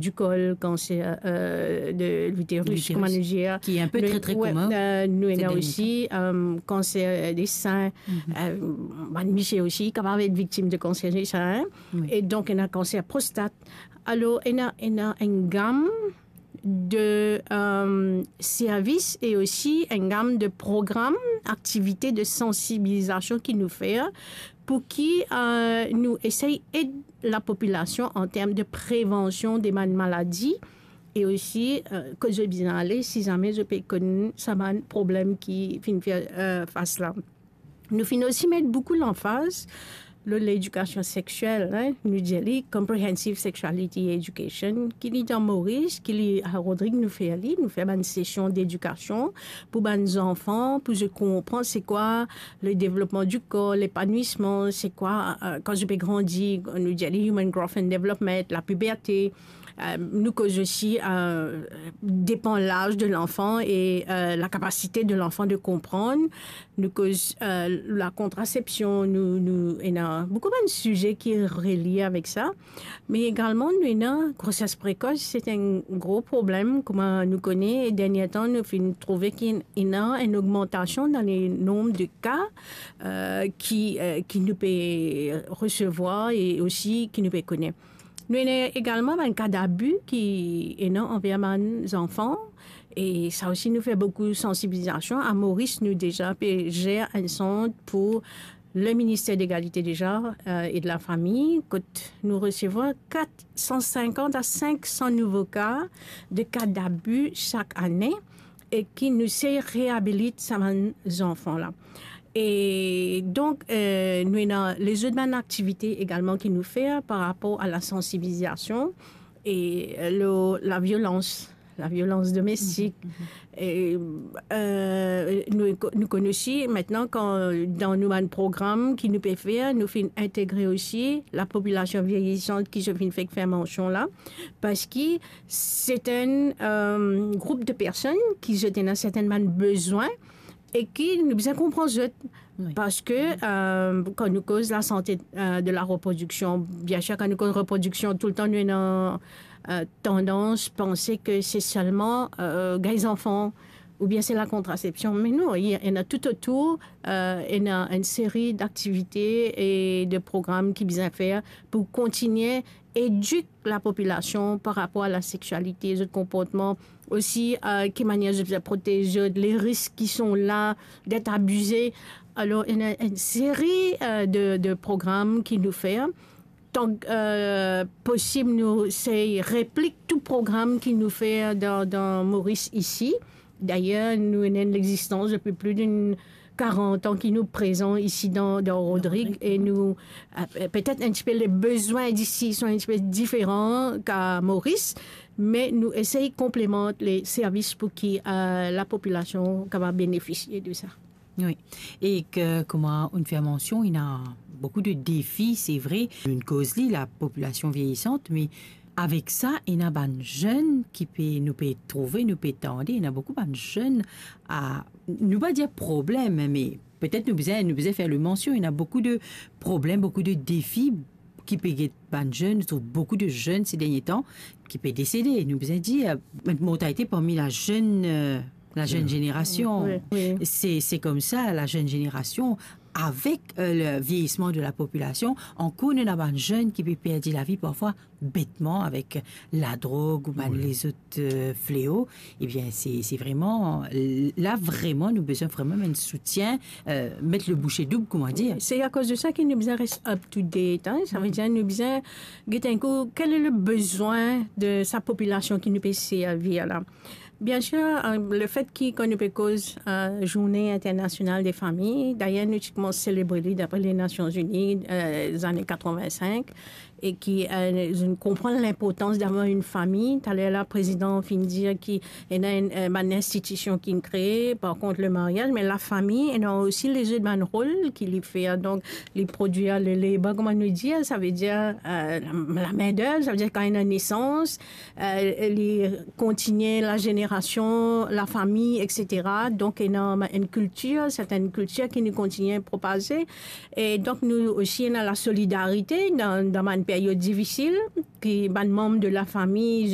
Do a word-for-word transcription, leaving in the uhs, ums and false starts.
du col, cancer, euh, de l'utérus, l'utérus, kouma nou dir, ki enpe nou, tre, tre, ouais, komin, euh, nou ena osi, euh, cancer, euh, des seins, euh, bann misie osi kapav et viktim de cancer des seins, hein. E donk, ena cancer prostate. Alor, ena, ena enn gam de, euh, servis e osi enn gam de program, aktivite de sansibilizasion ki nou fer pou ki, euh, nou esey ed lapopilasion an term de prevansion de bann maladi e osi, euh, kot zot bizin ale si zame zot pe konn sa bann problem ki finn fer, euh, fas la. Nou finn osi met boukou lanfaz lor ledikasion sexiel, hein, nou dir li Comprehensive Sexuality Education, ki li dan Moris, ki li a Rodrig nou fer li, nou fer bann sesion dedikasion pou bann zanfan, pou zot konpran se kwa le devlopman di kor, lepanwisman, se kwa, euh, kan zot pe grandi, nou dir li human growth and development, lapiberte, euh, nou koz osi, euh, depan laz de lanfan e, euh, lakapasite de lanfan de konprann. Nou koz, euh, lakontrasepsion, nou, nou ena boukou bann size ki relie avek sa. Me egalman, nou ena groses prekos, se enn gro problem, kouma nou kone, dernie tan, nou finn trouve ki ena enn ogmantasion dan le nonb de ka, euh, ki, euh, ki nou pe resevwar e osi ki nou pe kone. Nou ena egalman bann ka dabi ki ena anver bann zanfan, e sa osi nou fer boukou sansibilizasion. A Moris, nou deza pe zer enn sant pou le Minister Legalite deza, euh, e de Lafami, kot nou resevwar kat san sinkant a sink san nouvo ka de ka dabi sak ane, e ki nou sey reabilit sa bann zanfan la. E donk, euh, nou ena lezot bann aktivite egalman ki nou fer par rapor a lasansibilizasion e, euh, lor laviolans, laviolans domestik. E, euh, nou, nou konn osi, aster, kan dan nou bann program ki nou pe fer, nou finn integre osi lapopilasion vieyisant ki zot finn fek fer mansion la, parski se enn, euh, group de personn ki zot ena sertin bann bezwin e ki nou bizin konpran zot. Wi. Parski, euh, kan nou koz lasante, euh, de lareprodiksion, biensir, kan nou koz reprodiksion, toultan nou ena, euh, tandans panse ki se selman, euh, gagn zanfan oubien se lakontrasepsion. Me non, ena toutotour, euh, ena enn seri daktivite e de program ki bizin fer pou kontinie edik lapopilasion par rapor a lasexialite, zot konportman, osi, euh, ki manier zot bizin protez zot, le risk ki son la d'être abize. Alor, ena enn seri, euh, de, de program ki nou fer. Tan, euh, posib, nou sey replik tou program ki nou fer dan, dan Moris isi. Dayer, nou ena enn lexistans depi plis de karant an ki nou prezan isi dan, dan Rodrig, Rodrig, e nou, euh, petet enn tipe le bezwin isi son enn tipe diferan ka Moris, me nou esey konplemant le servis pou ki, euh, lapopilasion kapav benefisie de sa. Wi. E ki, kouma ou'nn fer mansion, ena boukou de defi, se vre. Nou'nn koz li, lapopilasion vieyisant, me avek sa, ena bann zenn ki pe, nou pe trouve, nou pe tande, ena boukou bann zenn a, nou pa dir problem, me petet nou bizin, nou bizin fer le mansion, ena boukou de problem, boukou de defi ki pe get bann zenn. Nou trouv boukou de zenn se dernie tan ki pe desede. Nou bizin dir, euh, mortalite parmi lazenn, euh, lazenn zenerasion. Wi, wi. Se, se koumsa, lazenn zenerasion, avek, euh, le vieyisman de lapopilasion, ankor nou ena bann zenn ki pe perdi lavi parfwa betman avek ladrog ou bann, wi, lezot, euh, fleo. Ebien, se, se vreman, la vreman, nou bizin vreman enn soutien, euh, met le bouche doub, kouma dir. Se akoz de sa ki nou bizin res up to date, hein. Sa ve dir nou bizin get enn kou, quel est le besoin de sa popilasion ki nou pe servi la. Biensir, euh, lefet ki kan nou pe koz, euh, Journée Internationale des Familles, dayer nou ti koumans selebre li dapre Lenasion Ini, euh, zane katreven-sink, e ki, euh, nou konpran linportans d'avoir une famille. Taler la, prezidan finn dir ki ena enn, euh, bann institision ki kree, par kont le mariaz, me lafami ena osi lezot bann rol ki li fer. Donk, li prodwir le leba, kouma nou dir, sa ve dir, euh, la, lamindev, sa ve dir kan ena nesans, euh, li kontinie lazenerasion, lafami, et cetera. Donk, ena enn kiltir, sertin kiltir ki nou kontinie propaze. E donk, nou osi ena lasolidarite dan, dan bann period difisil, ki bann manm de lafami,